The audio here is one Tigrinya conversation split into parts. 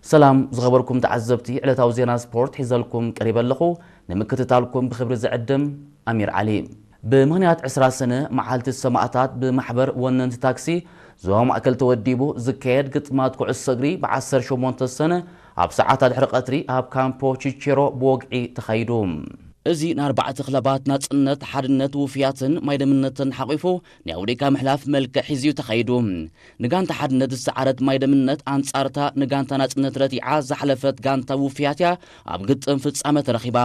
ሰላም ዝኸበርኩም ተዓዘብቲ፣ ዕለታዊ ዜና ስፖርት ሒዘልኩም ቀሪበ ኣለኹ። ንምክትታልኩም ብኽብሪ ዝዕድም ኣሚር ዓሊ። ብምኽንያት ዕስራ ሰነ መዓልቲ ሰማእታት ብማሕበር ወነንቲ ታክሲ ዞባ ማእከል ተወዲቡ ዝካየድ ግጥማት ኩዕሶ እግሪ ብ ዓሰርተ ሸሞንተ ሰነ ኣብ ሰዓታት ድሕሪ ቀትሪ ኣብ ካምፖ ቺቼሮ ብወግዒ ተኻይዱ። እዚ ንኣርባዕተ ክለባት ናጽነት፣ ሓድነት፣ ውፍያትን ማይደምነትን ሓቂፉ ናይ ኣውዲካ ምሕላፍ መልክዕ ሒዙ እዩ ተኻይዱ። ንጋንታ ሓድነት ዝሰዓረት ማይደምነት ኣንጻርታ ንጋንታ ናጽነት ረቲዓ ዝሓለፈት ጋንታ ውፍያት እያ ኣብ ግጥም ፍጻመ ተረኺባ።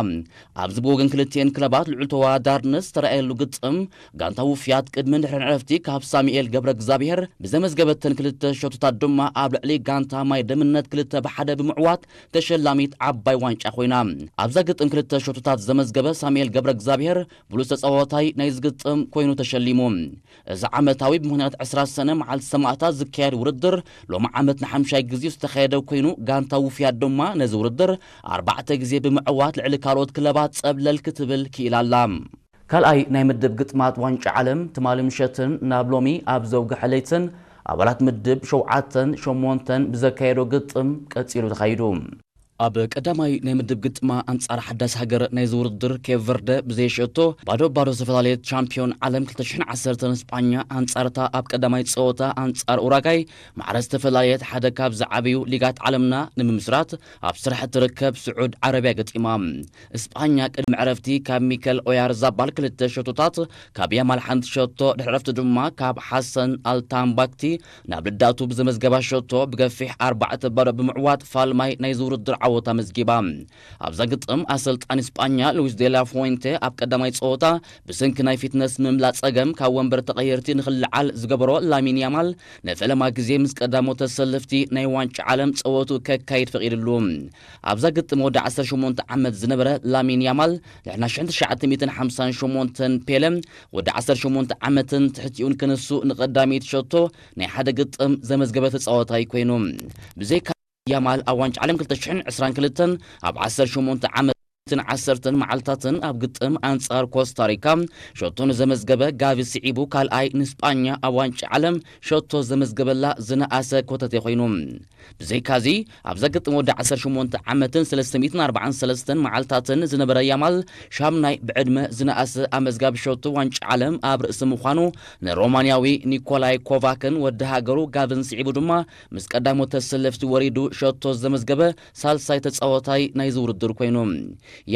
ኣብዚ ብወገን ክልቲኤን ክለባት ልዑል ተወዳዳርነት ዝተረኣየሉ ግጥም፣ ጋንታ ውፍያት ቅድምን ድሕርን ዕረፍቲ ካብ ሳሙኤል ገብረ እግዚኣብሔር ብዘመዝገበተን ክልተ ሸቶታት ድማ ኣብ ልዕሊ ጋንታ ማይደምነት ክልተ ብሓደ ብምዕዋት ተሸላሚት ዓባይ ዋንጫ ኮይና። ኣብዛ ግጥም ክልተ ሸቶታት ዘመዝገበ ሳሙኤል ገብረ እግዚኣብሔር ብሉጽ ተጻዋታይ ናይዚ ግጥም ኮይኑ ተሸሊሙ። እዚ ዓመታዊ ብምኽንያት ዕስራ ሰነ መዓልቲ ሰማእታት ዝካየድ ውድድር ሎሚ ዓመት ንሓምሻይ ግዜ ዝተኻየደ ኮይኑ፣ ጋንታ ውፍያት ድማ ነዚ ውድድር ኣርባዕተ ግዜ ብምዕዋት ልዕሊ ካልኦት ክለባት ጸብለል ክትብል ክኢላ ኣላ። ካልኣይ ናይ ምድብ ግጥማት ዋንጫ ዓለም ትማሊ ምሸትን ናብ ሎሚ ኣብ ዘውግሐ ለይትን ኣባላት ምድብ ሸውዓተን ሸሞንተን ብዘካየዶ ግጥም ቀጺሉ ተኻይዱ። ኣብ ቀዳማይ ናይ ምድብ ግጥማ ኣንጻር ሓዳስ ሃገር ናይዚ ውድድር ኬፕ ቨርደ ብዘየሸቶ ባዶ ባዶ ዝተፈላለየት ቻምፒዮን ዓለም ክልተ ሽሕን ዓሰርተን ስጳኛ ኣንጻርታ ኣብ ቀዳማይ ጸወታ ኣንጻር ኡራጋይ ማዕረ ዝተፈላለየት ሓደ ካብ ዝዓበዩ ሊጋት ዓለምና ንምምስራት ኣብ ስራሕ እትርከብ ስዑድ ዓረብያ ገጢማ። እስጳኛ ቅድሚ ዕረፍቲ ካብ ሚከል ኦያርዛባል ክልተ ሸቶታት፣ ካብ ያማል ሓንቲ ሸቶ፣ ድሕሪ ዕረፍቲ ድማ ካብ ሓሰን ኣልታምባክቲ ናብ ልዳቱ ብዘመዝገባ ሸቶ ብገፊሕ ኣርባዕተ ባዶ ብምዕዋት ፋልማይ ናይዚ ውድድር ዓወት ኣመዝጊባ። ኣብዛ ግጥም ኣሰልጣኒ እስጳኛ ሉዊስ ዴላ ፎንቴ ኣብ ቀዳማይ ጸወታ ብሰንኪ ናይ ፊትነስ ምምላእ ጸገም ካብ ወንበር ተቐየርቲ ንኽልዓል ዝገበሮ ላሚን ያማል ንፈለማ ግዜ ምስ ቀዳሞት ተሰለፍቲ ናይ ዋንጫ ዓለም ጸወቱ ከካይድ ፈቒድሉ። ኣብዛ ግጥም ወዲ ዓሰርተ ሸሞንተ ዓመት ዝነበረ ላሚን ያማል ድሕሪ ናይ ሽሕን ትሽዓተ ሚእትን ሓምሳን ሸሞንተን ፔለ ወዲ ዓሰርተ ሸሞንተ ዓመትን ትሕቲኡን ክንሱ ንቐዳመይቲ ሸቶ ናይ ሓደ ግጥም ዘመዝገበ ተጻዋታይ ኮይኑ። ብዘይካ ያማል ኣብ ዋንጫ ዓለም ክልተ ሽሕን ዕስራን ክልተን ኣብ ዓሰርተ ሸሞንተ ዓመትን ዓሰርተን መዓልታትን ኣብ ግጥም ኣንጻር ኮስታሪካ ሸቶ ንዘመዝገበ ጋቪ ስዒቡ ካልኣይ ንስጳኛ ኣብ ዋንጫ ዓለም ሸቶ ዘመዝገበላ ዝነኣሰ ኮተቴ ኮይኑ። ብዘይካዚ ኣብዛ ግጥም ወዲ ዓሰርተ ሸሞንተ ዓመትን ሰለስተ ሚእትን ኣርባዓን ሰለስተን መዓልታትን ዝነበረ ያማል ሻምናይ ብዕድመ ዝነኣሰ ኣመዝጋቢ ሸቶ ዋንጫ ዓለም ኣብ ርእሲ ምዃኑ ንሮማንያዊ ኒኮላይ ኮቫክን ወዲ ሃገሩ ጋቪን ስዒቡ ድማ ምስ ቀዳሞት ተሰለፍቲ ወሪዱ ሸቶ ዘመዝገበ ሳልሳይ ተጻዋታይ ናይዚ ውድድር ኮይኑ።